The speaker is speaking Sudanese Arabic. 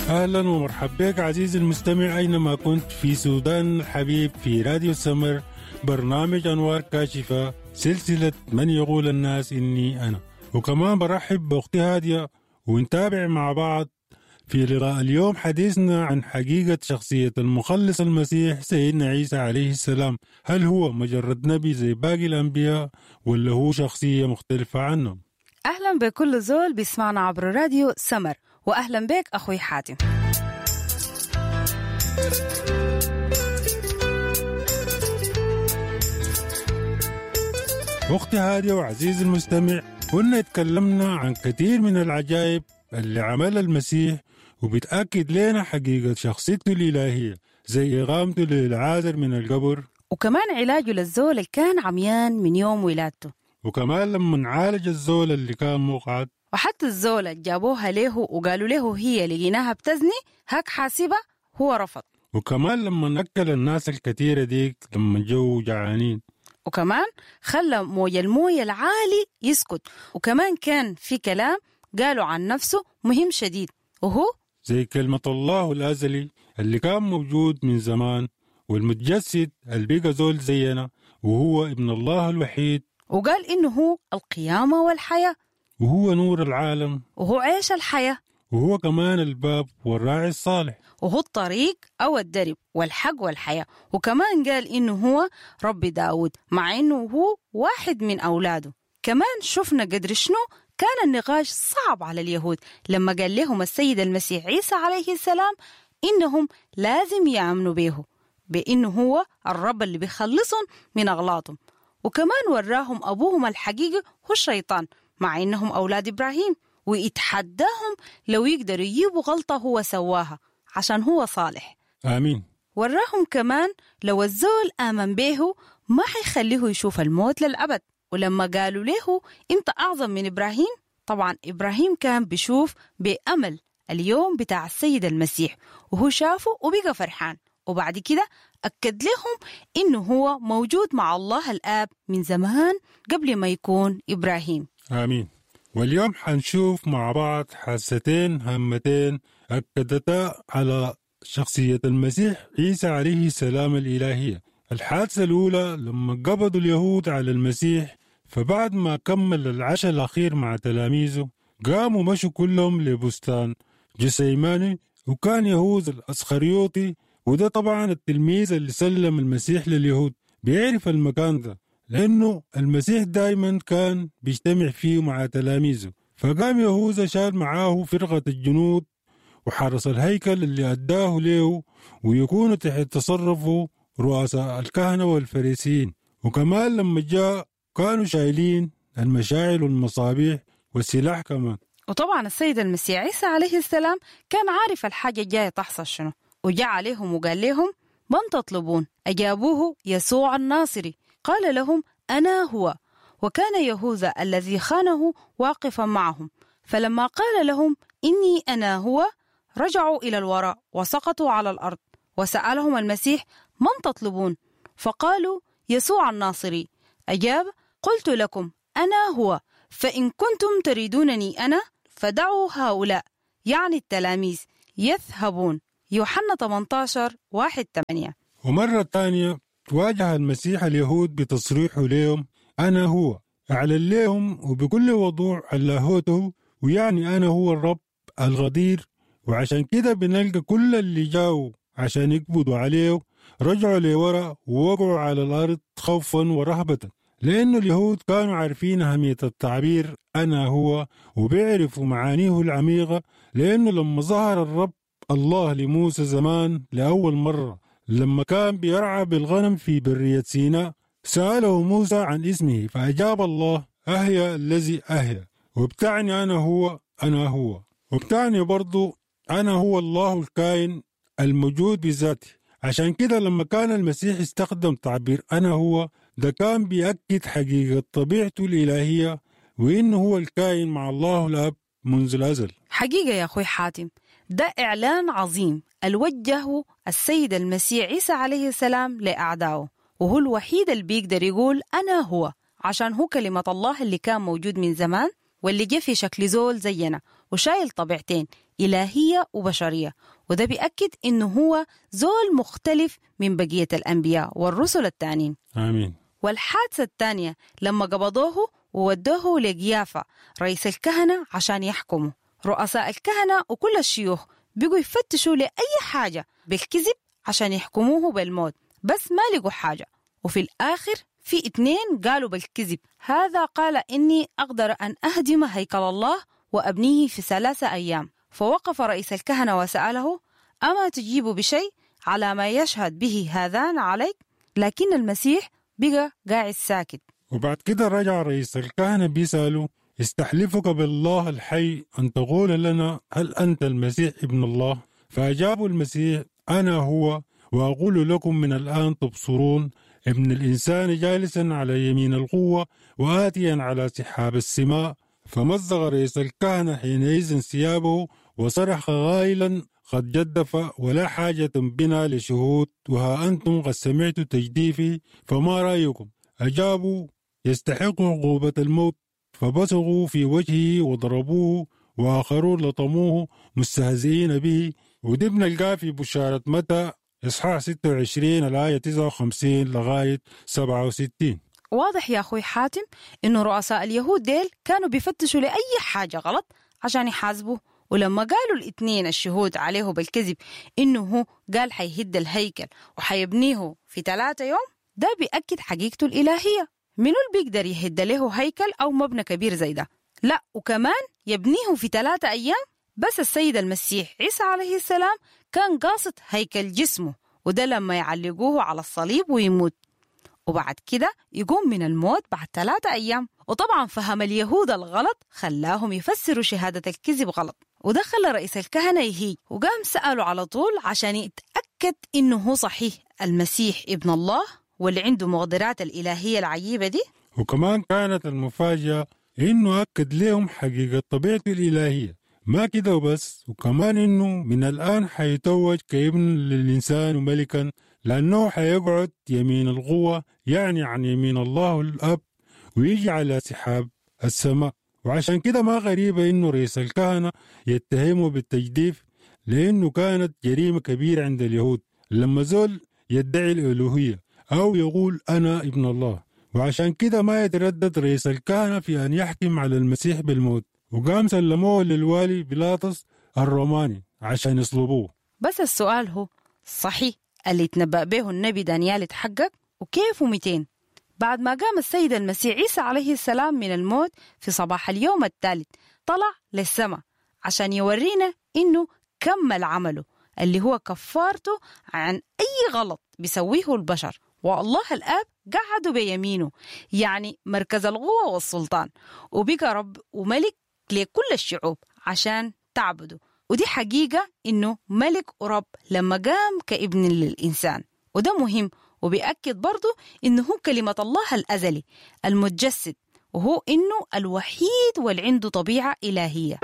أهلا ومرحبا بك عزيزي المستمع أينما كنت في سودان الحبيب في راديو السمر، برنامج أنوار كاشفة، سلسلة من يقول الناس إني أنا. وكمان برحب بأختي هادية ونتابع مع بعض في لقاء اليوم حديثنا عن حقيقة شخصية المخلص المسيح سيدنا عيسى عليه السلام. هل هو مجرد نبي زي باقي الأنبياء ولا هو شخصية مختلفة عنهم؟ أهلا بكل زول بيسمعنا عبر راديو سمر، وأهلا بك أخوي حاتم. أختي هادية وعزيزي المستمع، كنا اتكلمنا عن كثير من العجائب اللي عملها المسيح وبتأكد لنا حقيقة شخصيته الإلهية، زي إقامته للعازر من القبر، وكمان علاجه للزول اللي كان عميان من يوم ولادته، وكمان لما عالج الزول اللي كان مقعد، وحتى الزولة جابوها له وقالوا له هي لقيناها بتزني هاك حاسبة، هو رفض. وكمان لما أكل الناس الكثيرة ديك لما جو جعانين، وكمان خلى موج الموية العالي يسكت، وكمان كان في كلام قالوا عن نفسه مهم شديد، وهو زي كلمة الله الأزلي اللي كان موجود من زمان والمتجسد اللي بقى زول زينا وهو ابن الله الوحيد، وقال إنه هو القيامة والحياة، وهو نور العالم، وهو عيش الحياة، وهو كمان الباب والراعي الصالح، وهو الطريق أو الدرب والحق والحياة. وكمان قال إنه هو رب داود مع إنه هو واحد من أولاده. كمان شفنا قدر شنو كان النقاش صعب على اليهود لما قال لهم السيد المسيح عيسى عليه السلام إنهم لازم يأمنوا به بإنه هو الرب اللي بيخلصهم من أغلاطهم. وكمان وراهم أبوهم الحقيقي هو الشيطان مع إنهم أولاد إبراهيم، ويتحداهم لو يقدروا يجيبوا غلطة هو سواها عشان هو صالح. آمين. وراهم كمان لو الزول آمن به ما حيخليه يشوف الموت للأبد. ولما قالوا له أنت أعظم من إبراهيم، طبعا إبراهيم كان بيشوف بأمل اليوم بتاع السيد المسيح، وهو شافه وبقى فرحان. وبعد كده أكد لهم إنه هو موجود مع الله الآب من زمان قبل ما يكون إبراهيم. آمين. واليوم حنشوف مع بعض حاستين هامتين أكدتا على شخصية المسيح عيسى عليه السلام الإلهية. الحادثة الأولى لما قبضوا اليهود على المسيح، فبعد ما كمل العشاء الأخير مع تلاميذه قاموا مشوا كلهم لبستان جسيماني، وكان يهوذا الأسخريوطي، وده طبعا التلميذ اللي سلم المسيح لليهود، بيعرف المكان ده لأنه المسيح دايما كان بيجتمع فيه مع تلاميذه. فقام يهوذا شال معاه فرقة الجنود وحرس الهيكل اللي أداه له، ويكون تحت تصرفه رؤساء الكهنة والفريسيين. وكمان لما جاء كانوا شايلين المشاعل والمصابيح والسلاح كمان. وطبعا السيد المسيح عيسى عليه السلام كان عارف الحاجة الجاية تحصل شنو، وجاء عليهم وقال لهم من تطلبون؟ أجابوه يسوع الناصري. قال لهم أنا هو. وكان يهوذا الذي خانه واقفا معهم، فلما قال لهم إني أنا هو رجعوا إلى الوراء وسقطوا على الأرض. وسألهم المسيح من تطلبون؟ فقالوا يسوع الناصري. أجاب قلت لكم أنا هو، فإن كنتم تريدونني أنا فدعوا هؤلاء، يعني التلاميذ، يذهبون. يوحنا 18:1-8. ومرة ثانية واجه المسيح اليهود بتصريحه لهم أنا هو، أعلن لهم وبكل وضوح لاهوته، ويعني أنا هو الرب الغدير. وعشان كده بنلقى كل اللي جاوا عشان يقبضوا عليه رجعوا لورا ووقعوا على الأرض خوفا ورهبة، لأنه اليهود كانوا عارفين أهمية التعبير أنا هو، وبيعرفوا معانيه العميقة، لأنه لما ظهر الرب الله لموسى زمان لأول مرة لما كان بيرعى بالغنم في برية سيناء، سأله موسى عن اسمه فأجاب الله أهيا الذي أهيا، وبتعني أنا هو أنا هو، وبتعني برضو أنا هو الله الكائن الموجود بذاته. عشان كده لما كان المسيح استخدم تعبير أنا هو ده كان بيأكد حقيقة طبيعته الإلهية وإنه هو الكائن مع الله الأب منذ الأزل. حقيقة يا أخوي حاتم، ده إعلان عظيم الوجهه السيد المسيح عيسى عليه السلام لأعدائه، وهو الوحيد اللي بيقدر يقول أنا هو، عشان هو كلمة الله اللي كان موجود من زمان واللي جه في شكل زول زينا وشايل طبيعتين، إلهية وبشرية، وده بيأكد إنه هو زول مختلف من بقية الأنبياء والرسل التانيين. آمين. والحادثة الثانية لما قبضوه وودوه لقيافة رئيس الكهنة عشان يحكموا. رؤساء الكهنة وكل الشيوخ بقوا يفتشوا لأي حاجة بالكذب عشان يحكموه بالموت، بس ما لقوا حاجة. وفي الآخر في 2 قالوا بالكذب: هذا قال إني أقدر أن أهدم هيكل الله وأبنيه في 3 أيام. فوقف رئيس الكهنة وسأله: أما تجيب بشيء على ما يشهد به هذان عليك؟ لكن المسيح بقى قاعد ساكت. وبعد كده رجع رئيس الكهنة بيسأله: استحلفك بالله الحي أن تقول لنا هل أنت المسيح ابن الله؟ فأجاب المسيح: أنا هو، وأقول لكم من الآن تبصرون ابن الإنسان جالسا على يمين القوة وآتيا على سحاب السماء. فمزق رئيس الكهنة حينئذ ثيابه وصرخ قائلا: قد جدف، ولا حاجة بنا لشهود، وها أنتم قد سمعتوا تجديفي، فما رأيكم؟ أجابوا: يستحق عقوبة الموت. فبصقوا في وجهه وضربوه، وآخرون لطموه مستهزئين به. ودي بنلقاه في بشارة متى إصحاح 26 الآية 59 لغاية 67. واضح يا أخوي حاتم إنه رؤساء اليهود ديل كانوا بيفتشوا لأي حاجة غلط عشان يحاسبوه، ولما قالوا الاثنين الشهود عليه بالكذب إنه هو قال حيهد الهيكل وحيبنيه في 3 يوم، ده بيأكد حقيقته الإلهية. منو اللي بيقدر يهد له هيكل أو مبنى كبير زي ده؟ لا، وكمان يبنيه في 3 أيام. بس السيد المسيح عيسى عليه السلام كان قاصد هيكل جسمه، وده لما يعلقوه على الصليب ويموت، وبعد كده يقوم من الموت بعد 3 أيام. وطبعا فهم اليهود الغلط خلاهم يفسروا شهادة الكذب غلط، وده خلى رئيس الكهنة يهيج، وقام سأله على طول عشان يتأكد إنه هو صحيح المسيح ابن الله واللي عنده مقدرات الإلهية العجيبة دي. وكمان كانت المفاجأة إنه أكد لهم حقيقة طبيعته الإلهية، ما كده وبس، وكمان إنه من الآن حيتوج كابن للإنسان وملكا، لأنه حيقعد يمين القوة، يعني عن يمين الله الأب، ويجي على سحاب السماء. وعشان كده ما غريبة إنه رئيس الكهنة يتهمه بالتجديف، لأنه كانت جريمة كبيرة عند اليهود لما زول يدعي الألوهية أو يقول أنا ابن الله. وعشان كده ما يتردد رئيس الكهنة في أن يحكم على المسيح بالموت، وقام سلموه للوالي بيلاطس الروماني عشان يصلبوه. بس السؤال هو صحيح اللي تنبأ به النبي دانيال اتحقق؟ وكيف ومتين؟ بعد ما قام السيد المسيح عيسى عليه السلام من الموت في صباح اليوم الثالث، طلع للسماء عشان يورينا إنه كمل عمله اللي هو كفارته عن أي غلط بيسويه البشر، والله الآب قعدوا بيمينه، يعني مركز القوة والسلطان، وبقى رب وملك لكل الشعوب عشان تعبده. ودي حقيقة إنه ملك ورب لما قام كابن للإنسان، وده مهم، وبيأكد برضو إنه هو كلمة الله الأزلي المتجسد، وهو إنه الوحيد واللي عنده طبيعة إلهية.